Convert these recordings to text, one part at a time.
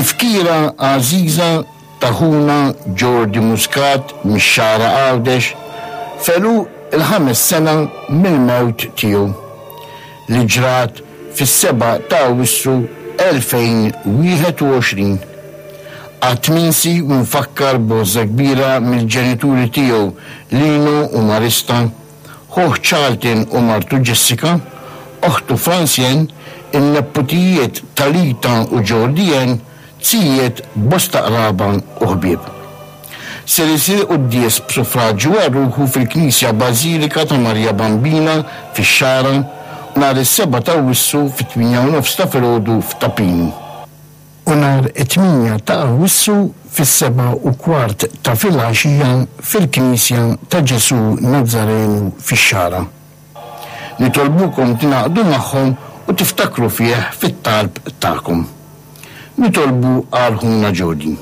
Tifkira għażiża ta' ħuna Jordi Muscat mix-Xagħra Għawdex f'għeluq il-ħames sena mill-mewt tiegħu, li ġrat fis-7 ta' Awwissu 2021. Qatt minsi u mfakkar b'għożża kbira mill-ġenituri tiegħu Lino u Marista, ħuh Charlton u martu Jessica, oħtu Francien, in-nepputijiet Talitha u Jordi-Ann, zijiet, bosta qraba u ħbieb. Ser isir quddies b'suffraġġju għal ruħu fil-Knisja Bażilika ta' Marija Bambina fix-Xagħra nhar is-Sebgħa t'Awwissu fit-tmienja u nofs ta' filgħodu f'Ta' Pinu. U nhar it-tmienja ta' Awwissu fis-sebgħa u kwart ta' filgħaxija fil-Knisja ta' Ġesù Nazzarenu fix-Xagħra. Nitolbukom tingħaqdu magħhom u tiftakru fih fit-talb tagħkom. Nitolbu għal ħuna Jody.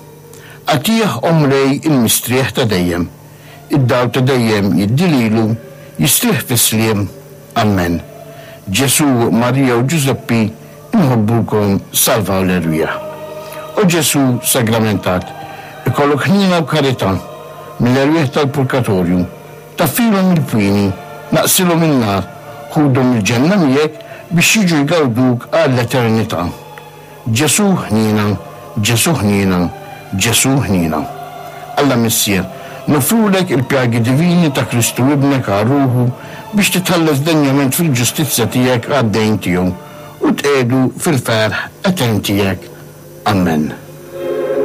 Agħtih, o Mulej, il-mistrieħ ta' dejjem. Id-dawl ta' dejjem jiddi lilu, jistrieħ fis-sliem. Ammen. Ġesù, Marija u Ġużeppi, inħobbukom, salvaw l-erwieħ. O Ġesù sagramentat, ikollok ħniena u karità mill-erwieħ tal-purgatorju. Taffilhom il-pwieni, naqsilhom in-nar, ħudhom il-ġenna miegħek biex jiġu jgawduk għall-eternità. Ġesù ħniena, Ġesù ħniena, Ġesù ħniena. Alla Missier, noffrulek il-pjagi divini ta' Kristu Ibnek għal ruħu biex titħallas denjament fil-ġustizzja tiegħek għad-dejn tiegħu u tqiegħdu fil-ferħ etern tiegħek. Ammen.